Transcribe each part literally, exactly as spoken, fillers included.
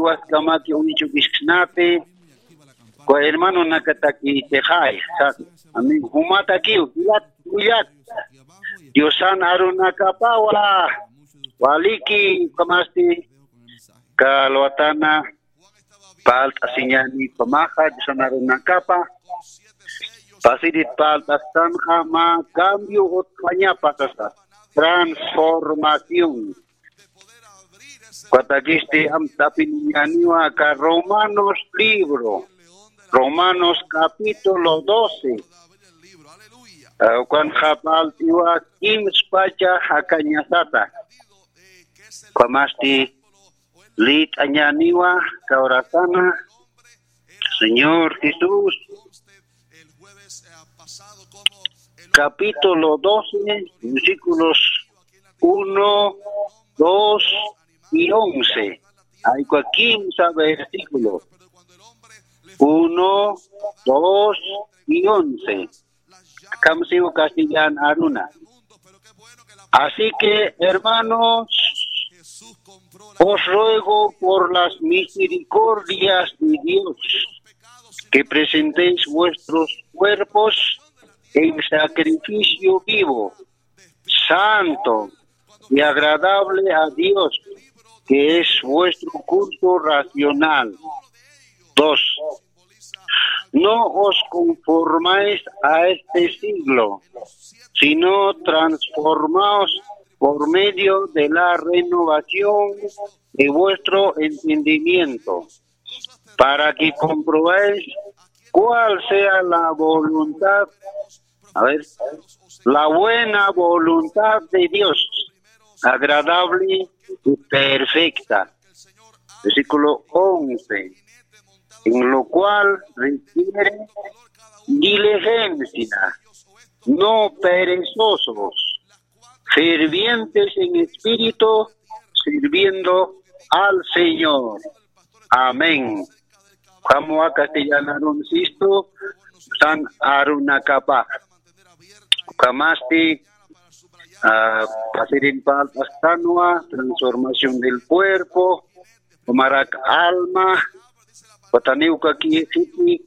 Paskamaki uñchukisknati, kwa hermano nakataki tixay, sas, ami jumatakiw, jilat, kuyat, Diosan arunakapawa, waliki, kamasti, kalwatana, palt'asiñani, pamaxa, Diosan arunakapa, pasirit palt'astanxa, ma cambio utjañapa, sasa, transformación. Katakisti amtapiniñaniwa aka Romanos libro, Romanos capítulo doce. Ah, ukan japaltiwa kimspacha jakañasata. Kamasti lit'añaniwa kawrasana Señor Jesús. Capítulo doce, versículos uno, dos y once. Hay kimsa versículo. Uno, dos y once. Kamsiw castellan aruna. Así que, hermanos, os ruego por las misericordias de Dios que presentéis vuestros cuerpos en sacrificio vivo, santo y agradable a Dios, que es vuestro culto racional. Dos. No os conformáis a este siglo, sino transformaos por medio de la renovación de vuestro entendimiento, para que comprobéis cuál sea la voluntad, a ver, la buena voluntad de Dios, agradable y perfecta. Versículo once. En lo cual requiere diligencia, no perezosos, fervientes en espíritu, sirviendo al Señor. Amén. Ukhamawa castellanarun sistu, Diosan arunakapa. Ukhamasti, ah, pasirin palt'astanwa, transformación del cuerpo, ukhamarak alma, wataniw kaki,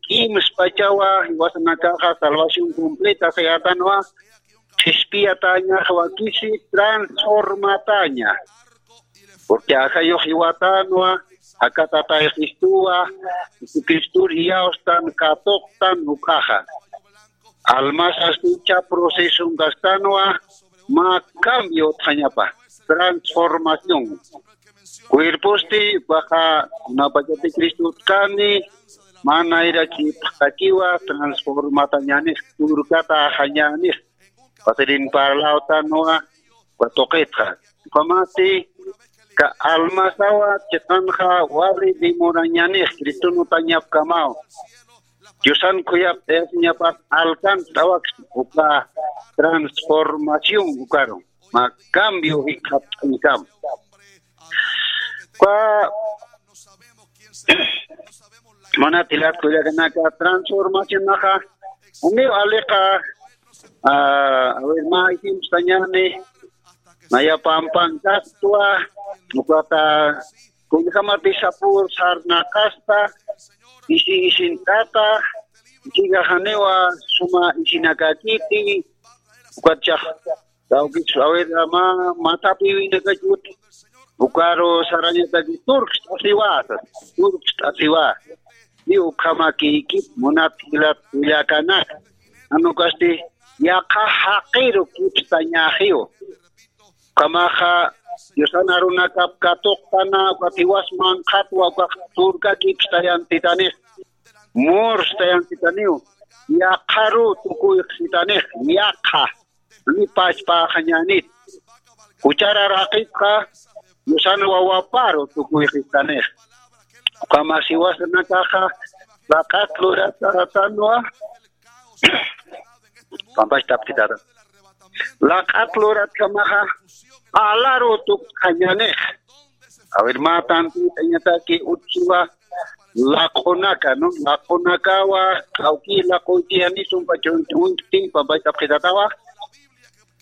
kimspachawa, jiwasanakaxa salvación completa sayatanwa, ch'ispiyatañax wakisi transformataña. Porque ajayux jiwatanwa, aka Tatay Cristowa, Jesucristor iyawstan katuqtan ukaxa. Almasasti icha proceso kastanwa, mä cambio utjañapa, transformación. Cuerposti, ukaxa, kunapachati Cristo utkani, mä nayra kipxtakiwa, transformatañänix, turkataxañänix, pasirin parlawtanwa, uka tuqitxa. Ukhamasti, aka almasawa chiqanxa wali demorañänix, Criston utañapkamaw. Diosan khuyapt'ayasiñapat alkant'awaks uka transformación ukaru. Mä cambio jikxat'añkam. Uka munat jilat kullakanaka, transformacionaxa, aniw aliqa, ah, a ver, mä ejemplosañäni, naya pampan kastwa, ukata kullkamati sapur sarnaqasta, isi isint'ata, chiqaxaniwa suma isinakakiti, ukatchax, kawkis, a ver, mä, mä tapiwinakachut, ukaru sarañataki turkst'asiwasa, turkst'asiwa. Ni ukhamakïkip munat jilat kullakanaka. Jan ukasti yaqha jaqiru kipstañäxiw. Ukhamaxa Diosan arunakap katuqtana, ukat jiwas manqhatwa, ukax turka kipstayantitanix, murstayantitanïw, yaqharu tukuyxsitanix, yaqha, ni pachpaxañänit. Juchar araqitxa, Diosan wawaparu tukuyxistanix. Ukhamax jiwasanakaxa, laq'at luratätanwa, pampach tapkitata. Laq'at luratjamaxa, alaru tukxañänix. A ver, mä tantitañataki utjiwa laq'unaka, ¿no? Laq'unakawa, kawki laq'uytiyani sumpa chunchunti, pampach tapkitatawa.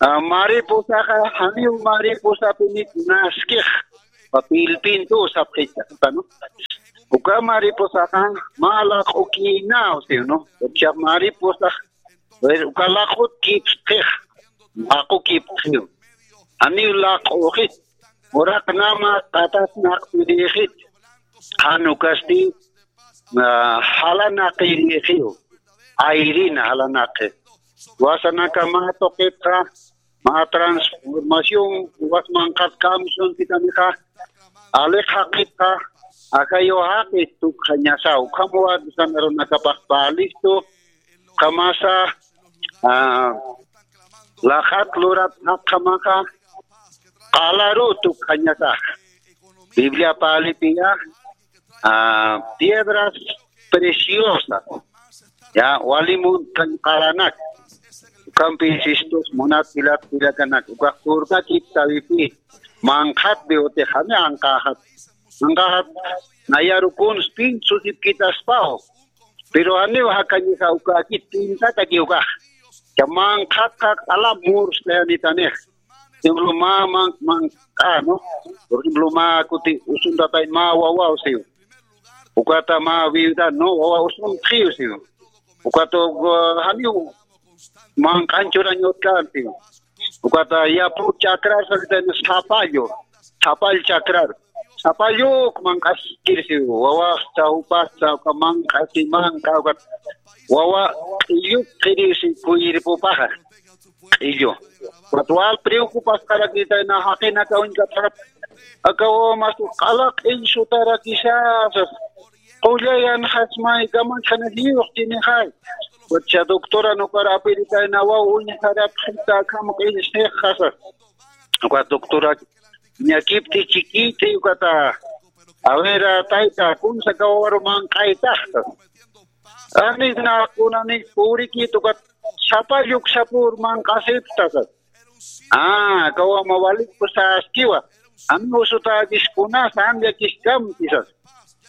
Ah, mariposaxa, janiw mariposapinit naskix, papilpintu sapxitata, ¿no? Uka mariposaxa mä laq'ukïnaw siw, ¿no? Uka mariposax, uka laq'ut kipsqix, laq'u kipsqiw. Janiw laq'uxit, uraqnama qatasnaqpirïxit, jan ukasti, ah, jalanaqirïxiw, ayrina jalanaqi. Jiwasanaka mä tuqitxa, mä transformación, jiwas manqhat kamsuntitanixa, alix jaqitxa, ajayu jaqit tukxañasa, ukham wawasana arunakapax pä listu, ukhamasa, ah, laq'at lurat jaqjamaxa, qalaru tukxañasax. Biblia pälitiya, ah, piedras preciosas. Ya, wali munt'añ qalanak. Ukhampi sistus munat jilat kullakanak. Ukax turkakiptawipï. Manqhatpi utix jani anqaxat. Anqaxat nayaru kuns pint susipkitaspaw. Pero janiw jakañisa ukakit pintataki ukax. Ya manqhatxa q'ala murstayanitanixa. Por ejemplo, mä man, manq'a, ¿no? Por ejemplo, mä kuti usuntatay mä wawaw siw. Ukata mä viuda, ¿no? Wawa usuntxiw siw. Ukata, uh, janiw manq'añ churañ utkan siw. Ukata yapu chakrar sasitayna sapallu, sapall chakrar. Sapalluk manq'askir siw. Wawaxta, jupasta, uka manq'asi manq'a, ukat wawa q'illuk qhirisi cuerpopaxa. Q'illu. Ukat wal preocupasqarakitayna jaqinaka uñkatarat. Aka wawa mas q'ala q'illsutarakisasas. Qullayan jasmay kamanchana liyuqtinixay. Ukat cha doctora nukar apiritayna waw uñjarapxita akham q'illsixasas. Ukat doctora ñakipti chiquiti ukata. A ver, tayta, kunsa aka wawaru manq'aytaxtas. Anis na kunani purikit ukat sapalluk sapur manq'asipxtasas. Ah, aka wawa mä walik saskiwa. Ami usutäkis kunas amyakiskampisas.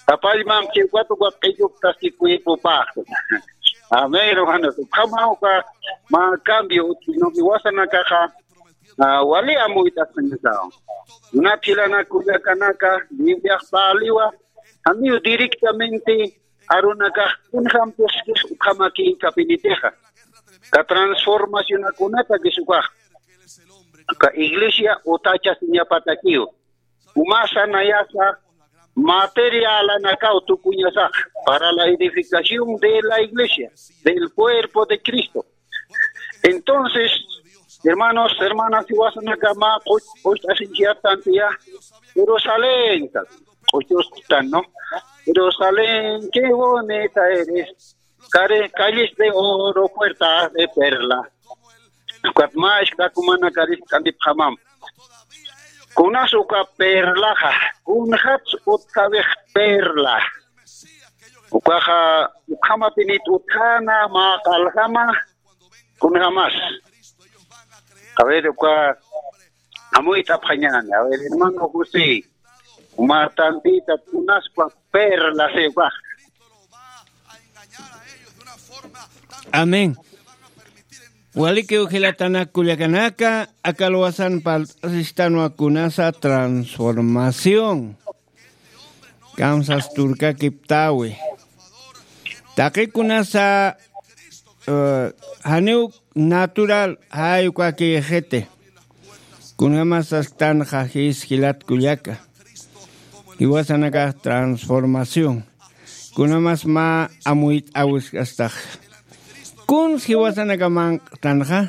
Sapallman chiwkat ukat q'illuktaski cuerpopax. Amén, hermanos. Ukhama uka mä cambio utji, ¿no? Jiwasanakaxa, ah, wali amuyt'asqañasawa. Munat jilanak kullakanaka, Bibliax paliwa, janiw directamente arunakax kunjampis ukhamakïkapinitixa. Ka transformacionakunatakis ukax. Ka iglesia utachasiñapatakiw. Umasa nayasa materialanakaw tukuñasax para la edificación de la iglesia, del cuerpo de Cristo. Entonces, hermanos, hermanas, jiwasanaka mä q'uch-, q'ucht'asinchiyaptantiya Jerusalén, q'uchustan, ¿no? Jerusalén, qué bonita eres. Care-, calles de oro, puertas de perla. Ukat mä isk'akumana karis k'antipxamam. Kunas uka perlaxa, kunxats utjawix perla. Ukaxa, ukhamatïnit utjäna, mä q'aljama, kunjamas. A ver, uka amuyt'apxañäni. A ver, hermano José, uma tantita, kunaspa perla, se va. Amén. Walikiw jilatanak kullakanaka, aka luwasan parlt'asistanwa kunasa transformación. Kamsas turkakiptawi. Taqikunasa, eh, janiw natural, jay ukakïxiti. Kunjamas sasktanxa jis jilat kullaka. Jiwasanakax transformación. Kunjamas mä amuyt'awiskastax. Kuns jiwasanaka manq'tanxa.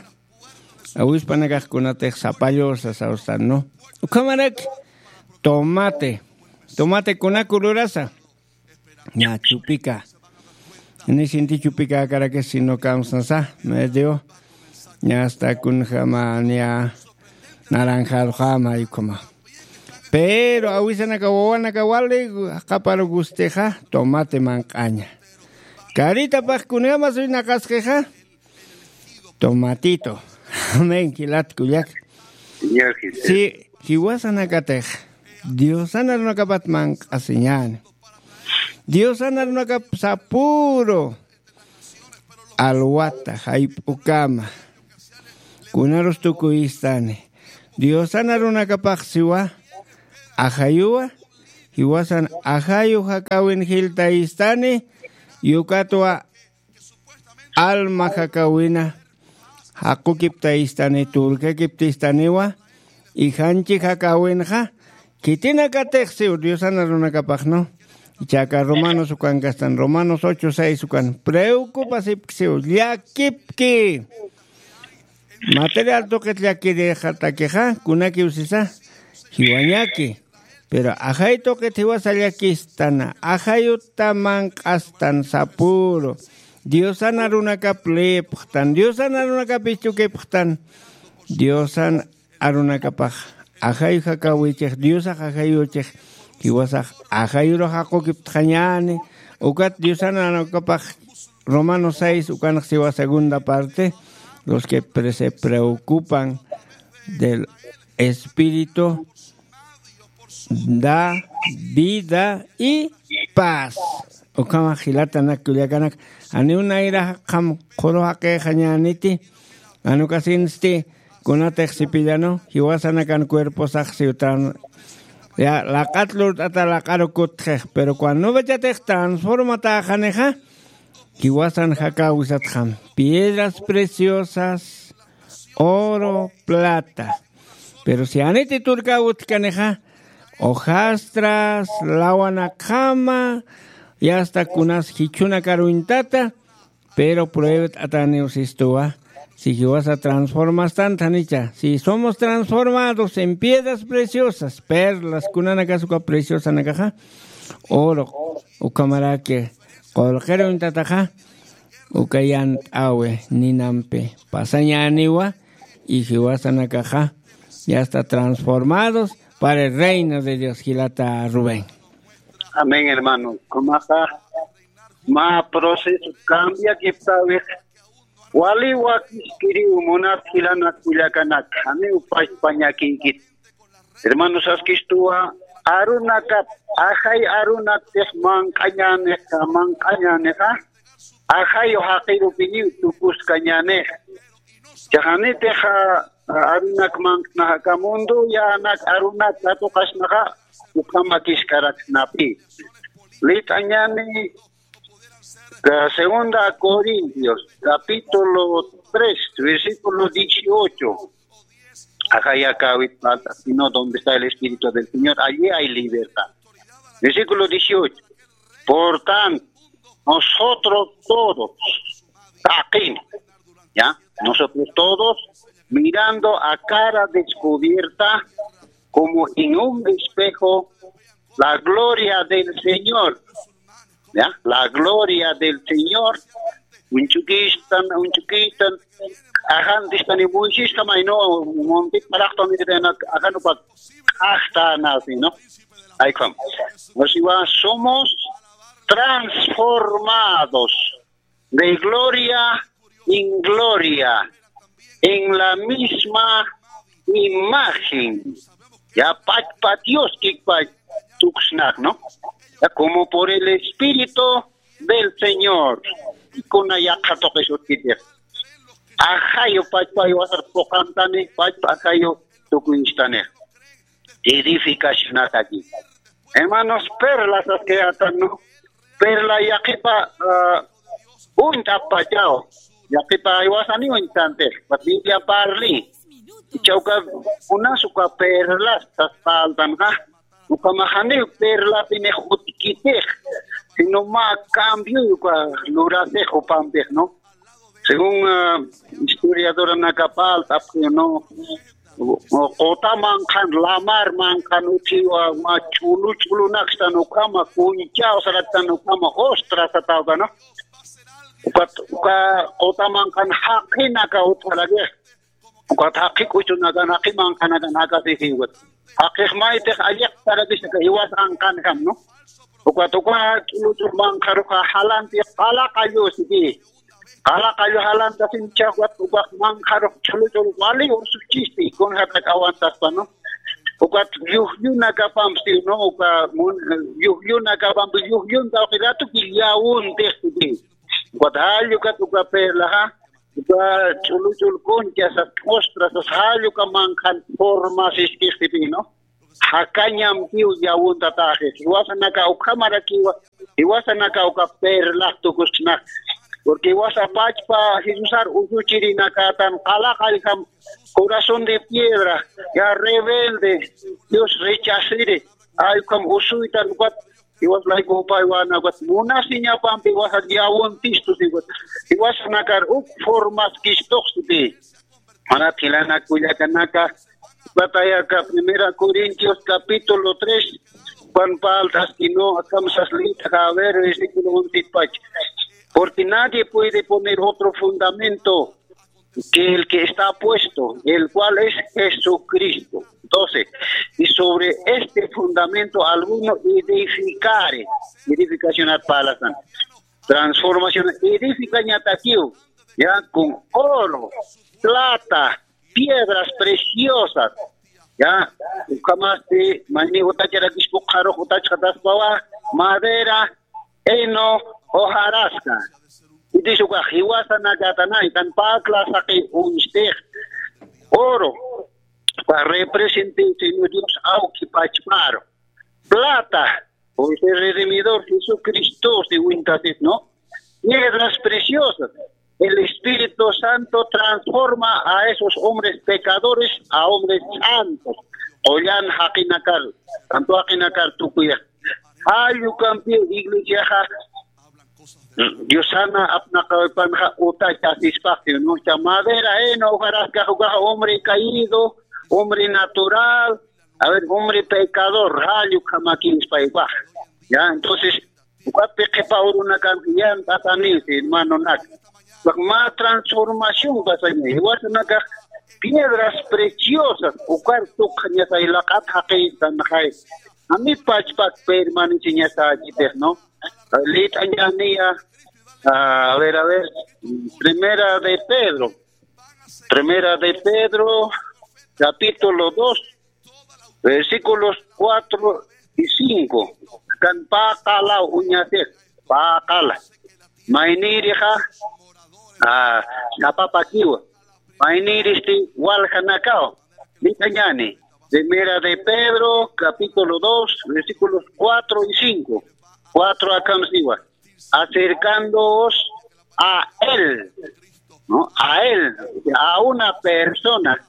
Awispanakax kunatix sapallu sasawsan, ¿no? Ukhamarak tomate. Tomate kunaku lurasa. Ña chupika. Ni sinti chupika akarakis sino kamsasa medio. Ña hasta kunjama ña naranjado jama ukhama. Pero awisanaka wawanaka wali qapar gustixa tomate manq'aña. Karitapax kunjama suynaqasqixa. Tomatito. Amén, jilat kullak. Señor Jesús. Si, jiwasanakatix Diosan arunakapat manq'asiñäni. Diosan arunakap sapüru alwata, jayp'ukama. Kunarus tukuyistani. Diosan arunakapax siwa, ajayuwa, jiwasan ajayu jakawin jiltayistani, yukatwa alma jakawina jaqukiptayistani, turkakiptistaniwa, ijanchi jakawinxa, khitinakatix siw Diosan arunakapaxnu. Ichaka Romanos ukan kastan, Romanos ocho seis ukan, preocupasipki siw, llakipki. Material tuqit llakirixatakixa, kunakiw sisa, jiwañaki. Pero ajay tuqit jiwasa llakistana, ajayuta manq'astan sapuru. Diosan arunakap lipxtan, Diosan arunakap ischukipxtan. Diosan arunakapax ajay jakawichix, Diosax ajayuchix, jiwasax ajayuru jaqukiptxañani. Ukat Diosan arunakapax Romanos seis, ukanx siwa segunda parte, los que pre-, se preocupan del espíritu da vida y paz. Ukhama jilatanak kullakanak, aniw nayra jaqham qhuru jaqixañaniti, anukasinsti kunatix sipillanu, jiwasanakan cuerposax siwtan, ya, laqat lurt'ata laqaru kutxix, pero cuando nubachatix transformataxanixa, jiwasan jakawisatxam, piedras preciosas, oro, plata. Pero si aniti turka utjkanixa, hojastras, lawanakjama, y hasta kunas jichhunakaruñtata, pero pruebet ataniw sistuwa, si jiwasa transformastan thanicha, si somos transformados en piedras preciosas, perlas, kunanakas uka preciosanakaxa, oro, ukhamaraki, qulqiruñtataxa, uka yant'awi ninampi pasañäniwa, y jiwasanakaxa ya está transformados para el reino de Dios, jilata Rubén. Amén, hermano. Kumaxa, mä proceso cambiakiptäwix, wali wakiskiriw munat jilanak kullakanak, janiw pachpañakïkit. Hermano, saskistuwa, arunakap, ajay arunaktix manq'añänixa, manq'añänixa, ajayu jaqirupiniw tukuskañänix. Chaxanitix, a, arunak manq'naxa, aka mundo yänak arunak katuqasnaxa, ukham akiskaraksnapi. Lit'añäni, a, segunda Corintios, capítulo tres, versículo dieciocho. Ajayakawit falta, sino donde está el Espíritu del Señor, allí hay libertad. Versículo dieciocho. Por tanto, nosotros todos, taqin, ¿ya? Nosotros todos, mirando a cara descubierta, como en un espejo, la gloria del Señor, ¿ya? La gloria del Señor. Uñch'ukistan, uñch'ukistan, ajantistani Moisés kamay, ¿no? Monte paraqtani, ajantupa k'ajtanasi, ¿no? Ay, ¿cómo? O sea, somos transformados de gloria en gloria, en la misma imagen. Ya, pachpa Dios kikpa tuksnak, ¿no? Ya, como por el Espíritu del Señor. Kuna yaqha tuqis utjkiti. Ajayu pachpa jiwasar puqantani, pachpa ajayu tukuyistani. Edificacionataki. Hermanos, perlas saskayätan, ¿no? Perla yaqhipa, ah, uñt'appachaw. Yaqhipa jiwasaniw uñt'tantix, ukat Biblia parli. Ichha uka, kunas uka perlas saspaltanxa, ukhamax janiw perlapinix utjkitix, sino mä cambio uka lurasix jupampix, ¿no? Según, ah, historiadoranakap alt'apxi, ¿no? Quta manqhan, lamar manqhan utjiwa, mä ch'ulu ch'ulunakstan ukhama, kunchäw saraktan ukhama, ostras satäwta, ¿no? Ukat, uka quta manqhan jaqinaka utjarakix. Ukat jaqi k'uchunakan, jaqi manqhanakan jakasisiw ukat. Jaqix maytix alliqtarakis aka jiwas anqanjam, ¿no? Ukat uka ch'ulu ch'ul manqharuxa jalanti qala qallu siki. Qala qallu jalantasin chawat ukax manqharux ch'ulu ch'ul wali ursuchisti, kunjatak awantaspa, ¿no? Ukat yujllunakapampi, ¿no? Uka mun-, yujllunakapampi, yujllunta uka ratuki llawuntix siki. Ukat jallukat uka perlaxa, uka ch'ulu ch'ul kuncha sas, ostras sas, jalluka manqhan formasiskix siki, ¿no? jakañampiw yawuntataxi. Jiwasanaka ukhamarakiwa, jiwasanaka uka perlax tukusna. Porque jiwasa pachpa Jesusar usuchirinakatan qalaqallkam corazón de piedra, ya rebelde, Dios rechaziri, ay ukham usuytan ukat, jiwas layku upaywana ukat, munasiñapampi jiwasa yawuntistu siwat, jiwasanakar uk formas kistuxsiti. Manat jilana kullakanaka, patayaka Primera Corintios capítulo tres, Juan Pablo Tastino, akamsas lita, a ver, versículo once pach. Porque nadie puede poner otro fundamento que el que está puesto, el cual es Jesucristo. Doce. Y sobre este fundamento alguno edificare, edificación at palasan. Transformación, edificañatakiw, ya, con oro, plata, piedras preciosas, ya, ukhamasti, mayni utacharakispuqarux utachxataspawa, madera, heno, hojarasca. Itis ukax jiwasanakatanay, tan pakla saqi uñstix, oro, pa represente Señor Dios, awki pachparu, plata, o ese redimidor Jesucristo, si wintasit, ¿no? Piedras preciosas. El Espíritu Santo transforma a esos hombres pecadores a hombres santos. Qullan jaqinakar, tanto jaqinakar tukuya. Ay, ukampi iglesiaxa, Diosana apnaqawipanxa utachasispaxi, ¿no? Cha madera, eh, no, hojarasca, ukaxa hombre caído, hombre natural, a ver, hombre pecador, rallo, kamakin, spaypax. Ya, entonces, ukapi qhipa urunakan, yan, tatani, hermano, nak. Ukax ma transformación pasaña, jiwasanakax piedras preciosas, ukar tukxañasay laqat jaqi, tanxay. A mi pachpak permaneciñasayitix, ¿no? Lit'añaniya, a ver, a ver, Primera de Pedro, Primera de Pedro, capítulo dos, versículos cuatro y cinco. Kan paqala uñasix, paqala. Maynirixa, a, sapapakiwa. Mayniristi waljanakaw. Lit'añani. Primera de Pedro, capítulo dos, versículos cuatro y cinco. Cuatro akamsiwa. Acercándoos a Él, ¿no? A Él, a una persona.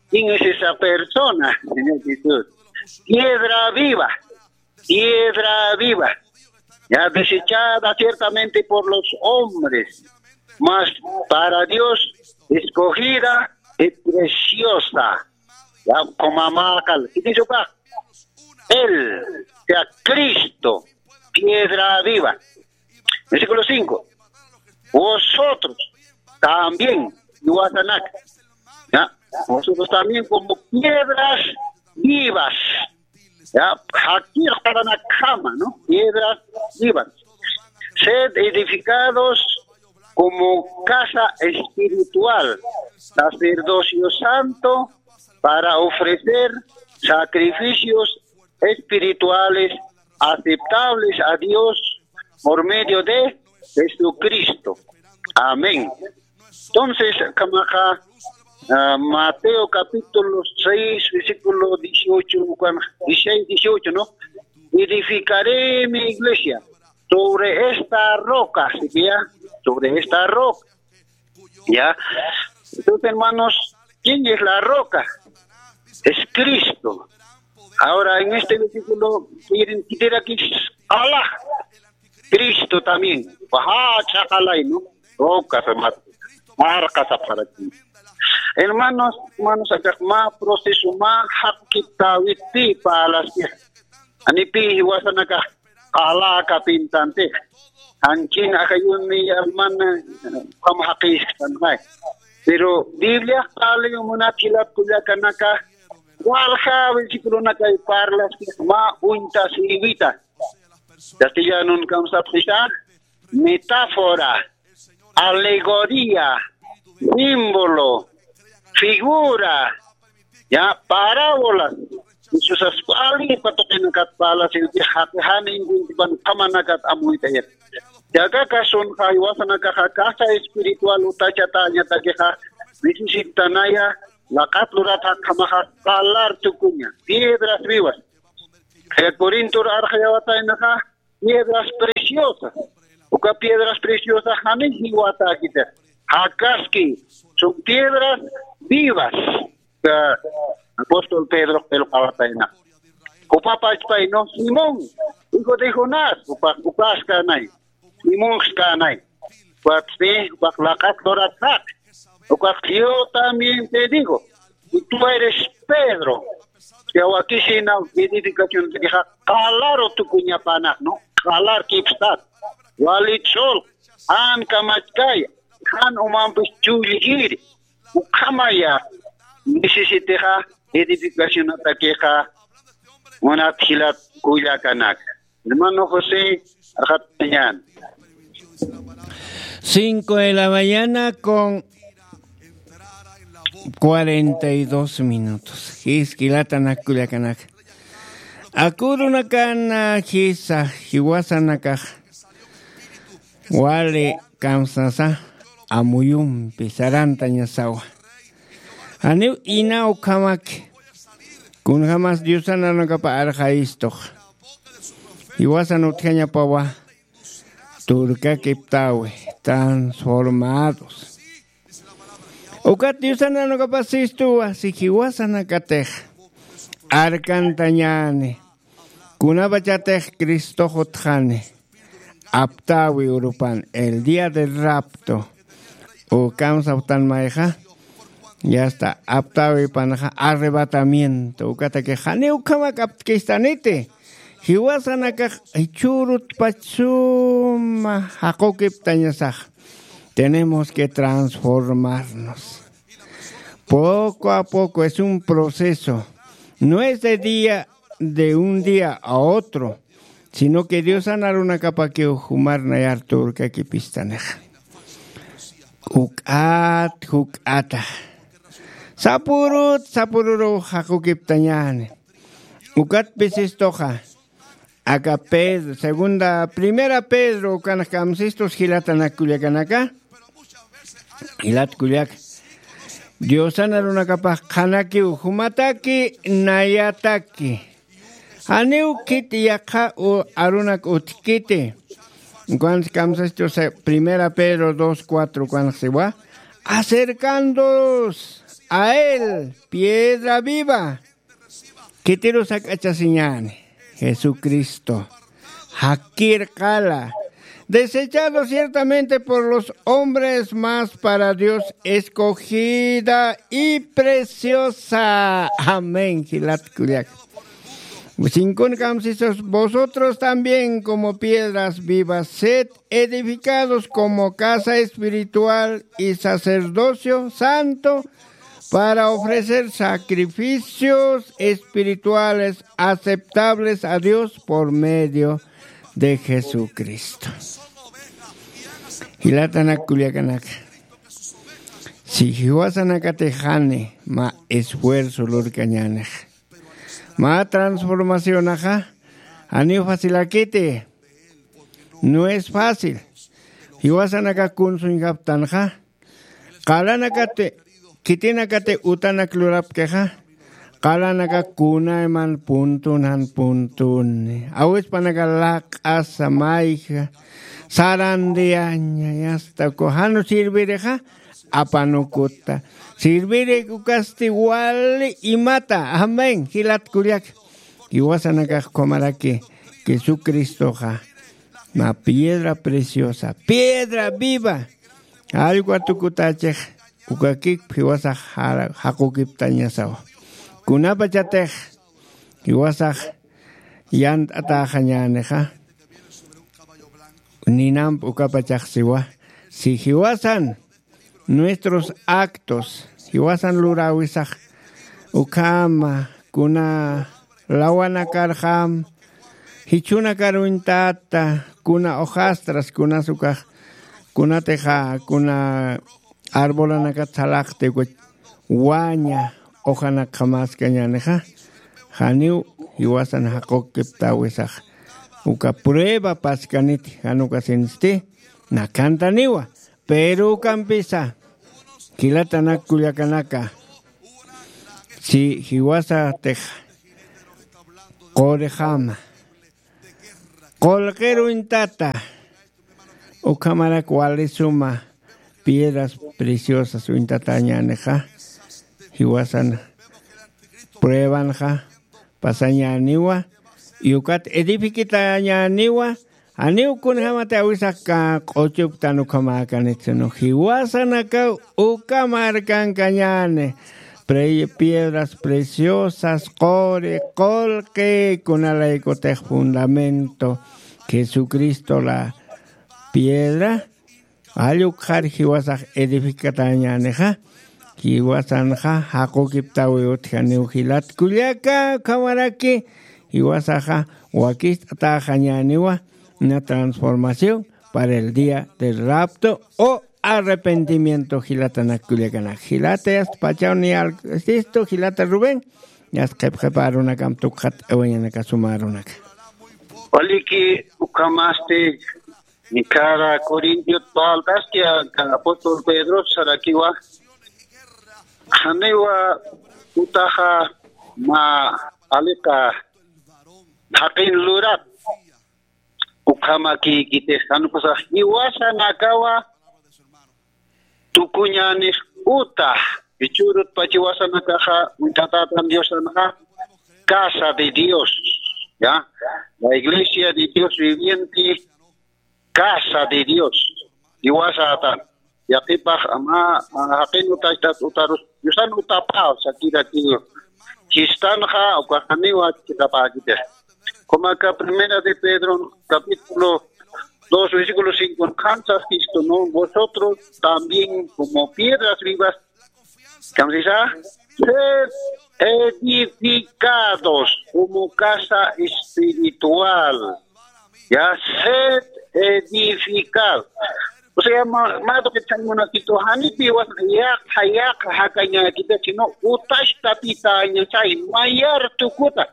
¿Quién es esa persona? Señor Jesús. Piedra viva, piedra viva, ya desechada ciertamente por los hombres, mas para Dios escogida y preciosa. Ya, como amaqal. Y dice, Él, sea Cristo, piedra viva. Versículo cinco. Vosotros también, yuasanak, ¿ya? Vosotros también como piedras vivas, ¿ya? Jaqir q'aranakjama, ¿no? Piedras vivas. Sed edificados como casa espiritual, sacerdocio santo, para ofrecer sacrificios espirituales aceptables a Dios por medio de Jesucristo. Amén. Entonces, kamaxa, ah, Mateo capítulo seis, versículo dieciocho, cuan-, dieciséis, dieciocho, ¿no? Edificaré mi iglesia sobre esta roca, ¿sí que ya? Sobre esta roca. ¿Ya? Entonces, hermanos, ¿quién es la roca? Es Cristo. Ahora, en este versículo, quieren quitar aquí Allah, Cristo también. Baja, chacalay, ¿no? Roca, hermano. Marca, para ti. Hermanos, hermanos, acá más proceso, más hapkitawiti para las que. Ani pi jiwasanaka qala kapintantix. Anchhin ajayuni alman, eh, qam jaqiskan, may. Pero Biblia qali munat jilat kullakanaka, walja versículonakay parlaskis mä uñtasïwita. Castellanun kamsapxisa, metáfora, alegoría, símbolo, figura, ya, parábolas. Jesusas q'alipa tuqinakat parlasiw, jaqi jan inkuntipan qamanakat amuyt'ayat. Yaka kasunxa jiwasanakaxa casa espiritual utachatañatakixa necesitanaya Laqat lurat jakjamaxa qalar tukuña, piedras vivas. Qhilla Corintor arxayawataynaxa piedras preciosas. Uka piedras preciosas janiw jiwatäkiti. Jakaski, son piedras vivas. Uka apóstol Pedro qillqawatayna. Jupa pachpay, no, Simón, hijo de Jonás, upa, upaskänay. Simón skänay. Ukat, sí, ukat laqat lurat jaq. Ukat, yo también te digo, y tú eres Pedro. Yawakisina edificación de jaq qalaru tukuñapanaq, ¿no? Qalar kipstat. Walit sol, jan kamachkaya, jan umampis chullkiri. Ukhamaya necesitixa edificacionatakixa, munat jilat kullakanaka. Hermano José, ajatañan. Cinco de la mañana con cuarenta y dos minutos. Jiskilatanak kullakanaka. Akurunakana jisa jiwasanakax. Wali kamsasa amuyumpi sarantañasawa. Janiw ina ukhamaki. Kunjamas Diosan arunakapa arxayistux. Jiwasan utjañapawa. Turkakiptawi, transformados. Ukat Diosan arunakapasistuwa, si jiwasanakatix arkantañäni, kunapachatix Cristox utjani, aptäwi urupan, el día del rapto, ukham sapxtan mayxa, ya está, aptäwipanxa arrebatamiento, ukatakix janiw ukhamak aptkistaniti, jiwasanakax jichhürutpach suma jaqukiptañasax. Tenemos que transformarnos. Poco a poco es un proceso. No es de día, de un día a otro, sino que Diosan arunakapakiw jumar nayar turkakipistanixa. Juk'at, juk'ata. Sapürut, sapüruru jaqukiptañäni. Ukat pisistuxa. Aka Pedro, segunda, primera Pedro, ukanx kamsistus jilatanak kullakanaka. Jilat kullaka. Diosan arunakapax qhanakiw, jumataki, nayataki. Janiw khiti yaqha u-, arunak utjkiti. Ukanx kamsistus, primera Pedro dos cuatro, ukanx siwa. Acercándoos a él, piedra viva. Khitirus jak'achasiñäni, Jesucristo. Jakir qala. Desechado ciertamente por los hombres, mas para Dios escogida y preciosa. Amén, jilat kullaka. Sinkun kamsistus, vosotros también como piedras vivas, sed edificados como casa espiritual y sacerdocio santo, para ofrecer sacrificios espirituales aceptables a Dios por medio de Jesucristo. Jilatanak kullakanaka. Si jiwasanakatix jani mä esfuerzo lurkañänix. Mä transformacionaxa janiw facilakiti. No es fácil. Jiwasanakax kunsuñjaptanxa. Qalanakati, khitinakati utanak lurapkixa. Qalanakax kunayman puntun jan puntuni. Awispanakax laq'asa mayja. Sarandiaña, yasta ku janu sirvirixa. Apanukuta. Sirvirik ukasti wali imata. Amén. Jilat kullaka. Jiwasanakax ukhamaraki Jesucristoxa. Mä piedra preciosa. Piedra viva. Allqu atukutächix. Ukakik jiwasax jara-, jaqukiptañasawa. Kunapachatix. Jiwasax yant'atäxañänixa. Ninamp ukapachax siwa. Si jiwasan nuestros actos, jiwasan luräwisax ukhama, kuna lawanakarxam, jichhunakar uñtata, kuna hojastras, kunas ukax, kunatixa, kuna arbolanakat salaqti, uka waña hojanakxamaskañänixa, janiw jiwasan jaqukiptäwisax, uka prueba paskaniti, jan ukasinsti, nakantaniwa. Pero ukampisa, jilatanak kullakanaka, Si jiwasatix qurixama, qullqir uñtata, ukhamarak wali suma piedras preciosas uñtatañänixa, jiwasan pruebanxa pasañäniwa, y ukat edifiquitañäniwa, janiw kunjämati awisax q'uchuptan ukhamäkanit, sino jiwasanakaw uka markankañäni, pre-, piedras preciosas, quri, qullqi, kunalaykutix fundamento, Jesucristo la piedra, jall ukxar jiwasax edificatäñänixa, jiwasanxa jaqukiptawi utjaniw jilat kullaka, ukhamaraki jiwasaxa wakist'atäxañäniwa, una transformación para el día del rapto o arrepentimiento, jilatanak kullakanak. Jilata yasta pachaw niyarsistu, jilata Rubén, yasta qhipqhipa arunakam tukxat awañanaka suma arunaka. Waliki, ukhamasti, nikara Corintiot paltaski, apóstol Pedro sarakiwa, janiwa utaxa mä aliqa jaqin lurat, ukhamakïkitix, jan ukasax jiwasanakawa tukuñänix uta, jichhürutpach jiwasanakaxa uñtatätan Diosanxa casa de Dios, ¿ya? La iglesia de Dios viviente, casa de Dios. Jiwasätan. Yaqhipax mä, mä jaqin utachtat utarus, Diosan utapäw sakirakiw. Chistanxa, ukax janiwa chiqapäkitix. Como acá Primera de Pedro, capítulo dos, versículo cinco, ¿no? Vosotros también como piedras vivas, ¿cómo se dice? Sed edificados como casa espiritual. Ya, sed edificados. O sea, mä, mä tuqit munasitu, janipi jiwas yaqha, yaqha jakañäkita, sino utachtapitañasay, mayar tukuta.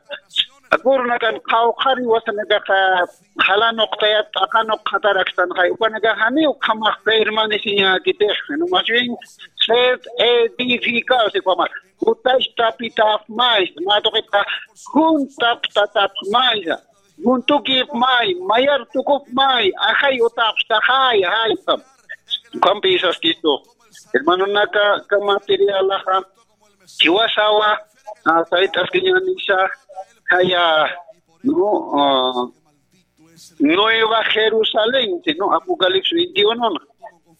Akurunakan qhawqhar jiwasanakaxa, jalanuqtayat, t'aqanuqxatarakstanxay, ukanakax janiw ukhamax permaneciñäkitix, sino más bien, sed edificados, ukhamax. Utachtapitapxmaysa, mä tuqitxa, juntaptatapxmaysa. Juntukipxmay, mayar tukupxmay, ajay utapxtaxay, ajay, ukham. Ukhampi saskistu. Hermanonaka, aka materialaxa, jiwasawa, ah, sayt'askiñänisa, jaya, no, ah, Nueva Jerusalén, sino Apocalipsis veintiuno, ¿no?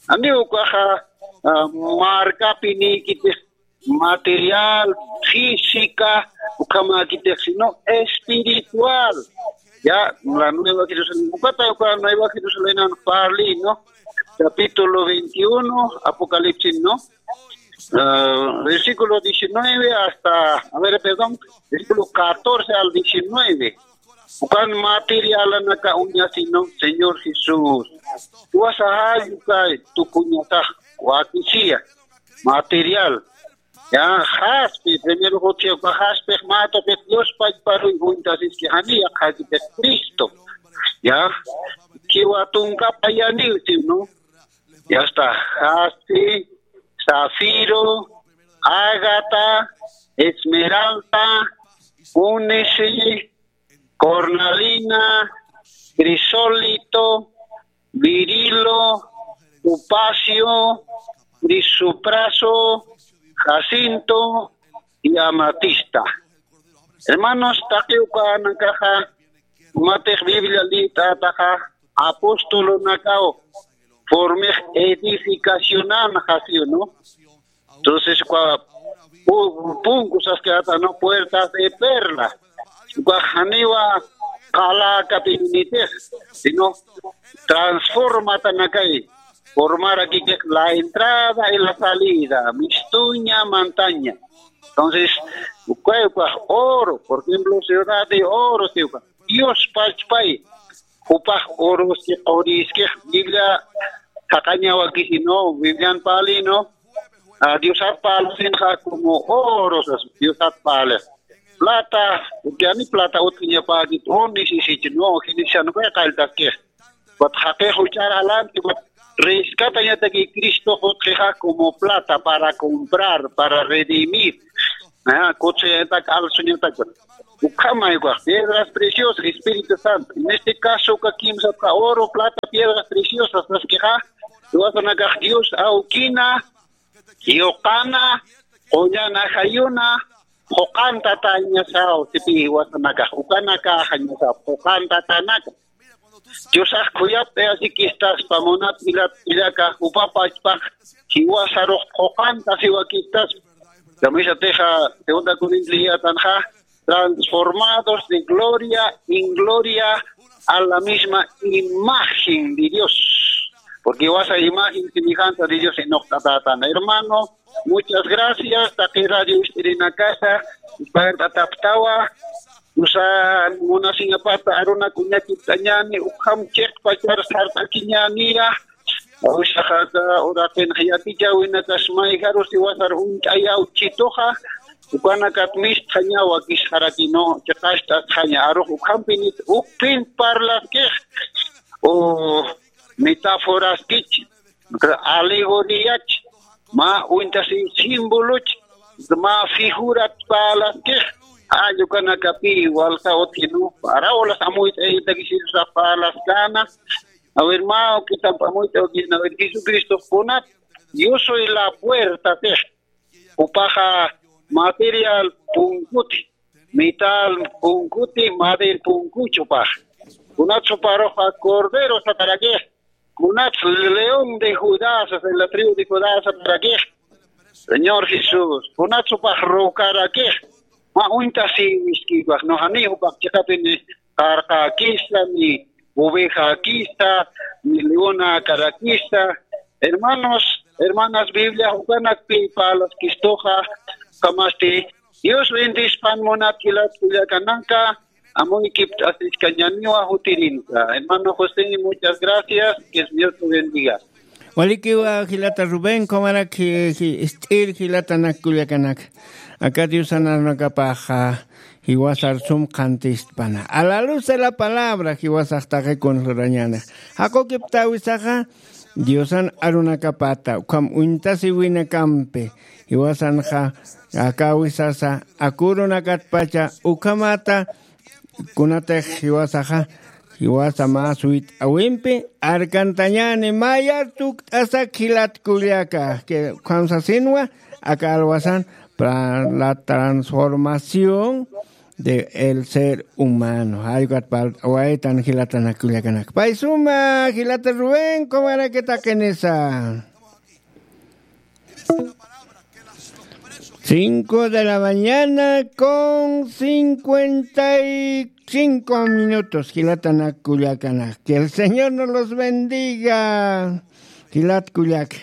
Janiw ukaxa, ah, markapi nïkitix material, física, ukhamäkitix, sino espiritual. Ya, la Nueva Jerusalén. Ukata uka Nueva Jerusalén parli, ¿no? Capítulo veintiuno, Apocalipsis, ¿no? Ah, versículo diecinueve hasta, a ver, perdón, versículo catorce al diecinueve. Ukan materialanaka uñasï, ¿no? Señor Jesús. Jiwasax jall uka tukuñasax wakisiya material. Ya, jaspi, primero jutsi uka jaspix mä tuqit Dios pachparuy uñtasiski, janiw yaqhakitix Cristo. Ya, jiwa tunka payaniw, ¿no? Ya está, jaspi, zafiro, ágata, esmeralda, ónice, cornalina, crisólito, berilo, topacio, crisopraso, jacinto y amatista. Hermanos, taqi ukanakaxa, jumatix Biblia liyt'ataxa, apostolonakaw formix edificacionan jasiw, ¿no? Entonces, uka pu-, punku saskata, ¿no? Puertas de perla. Uka janiwa qala kapinitix, sino transformatanakay. Formarakitix la entrada y la salida, mistuña, mantaña. Entonces, uka, uka oro, por ejemplo, ciudad de oro, si uka Dios pachpay, jupax oroski quriskix, Biblia jaqañawakisi, ¿no? Biblian parli, ¿no? Ah, Diosat parlasinxa como oro sas, Diosat parli. Plata, porque ani plata utjiñapäkit, o necesito, ¿no? Genesiano, ¿qué tal? Ukat jaqix juchar alanti, ukat rescatañataki Cristo jutxixa como plata para comprar, para redimir. Ajá, kutsuyataqa, alsuñataqa. Ukhamaykuqa, piedras preciosas, Espíritu Santo. En este caso, uka kimsapxi oro, plata, piedras preciosas, saskixa, jiwasanakax Dios awkina, yuqana, qullana jayuna, quqan tatañasaw, sipi jiwasanakax, ukanakaxañasaw, quqan tatanaka. Diosax khuyapt'ayasiskistaspa, munat jilat kullaka, jupa pachpax jiwasarux quqantasiwakistaspa. Kamisatixa, segunda Corinto liyätanxa, transformados de gloria en gloria a la misma imagen de Dios. Porque jiwasa imagen semejanta de Dios inuqt'atätan. Hermano, muchas gracias, taqi radio ist'irinakasa, pagt'ataptawa, usa munasiñapata arunaka uñakipt'añäni, ukham chiqpachar sart'akiñäniya, usaxata uraqinxa yatichäwinakas mayjarusi jiwasar uñt'ayäw chituxa, ukanakat mistxañaw wakisxarakinu, chiqacht'asxaña, arux ukhampinit, ukpin parlaskix, u metáforaskich, alegoriach, mä uñtasi símboloch, mä figurat parlaskix, jall ukanakapi walja utjinu, parábolas amuyt'aytakisisa parlaskäna. A ver, mä ukitamp amuyt'awakisna, a ver, Jesucristo kunat, yo soy la puerta, six. Jupaxa material punkuti, metal punkuti, madera punkuch jupax. Kunat juparuxa cordero satarakix, kunat león de Judá, de la tribu de Judá satarakix. Señor Jesús, kunat jupax rocarakix, mä uñtasiwiskïpax, no, jani jupax chiqapini qarqäkisa, ni ovejakisa, ni leonakarakisa. Hermanos, hermanas, Biblia ukanakpi parlaskistuxa, kamasti Dios bendispan munat jilat kullakanaka, amuykipt'asiskañäniwa jutirinsa. Hermano José, muchas gracias, que el Señor te bendiga. Walikiwa jilata Rubén, kumarak ji-, ji-, ist'ir jilatanak kullakanak. Aka Diosan arunakapaxa jiwasar sum qhantistpana. A la luz de la palabra jiwasax taqi kunsa lurañäni. Jaqukiptawisaxa Diosan arunakapata, ukham uñtasiwinakampi. Jiwasanxa akawisasa, akurunakatpacha, ukhamata, kunatix jiwasaxa, jiwasa mä suyt'awimpi arkantañäni, mayar tukt'asak jilat kullaka, que ukham sasinwa, aka alwasan, para la transformación de el ser humano. Jay ukat parlt'awaytan jilatanak kullakanak. Pay suma, jilata Rubén, kumarak taqinisa. Cinco de la mañana con cincuenta y cinco minutos, jilatanak kullakanak. Que el Señor nos los bendiga, jilat kullaka.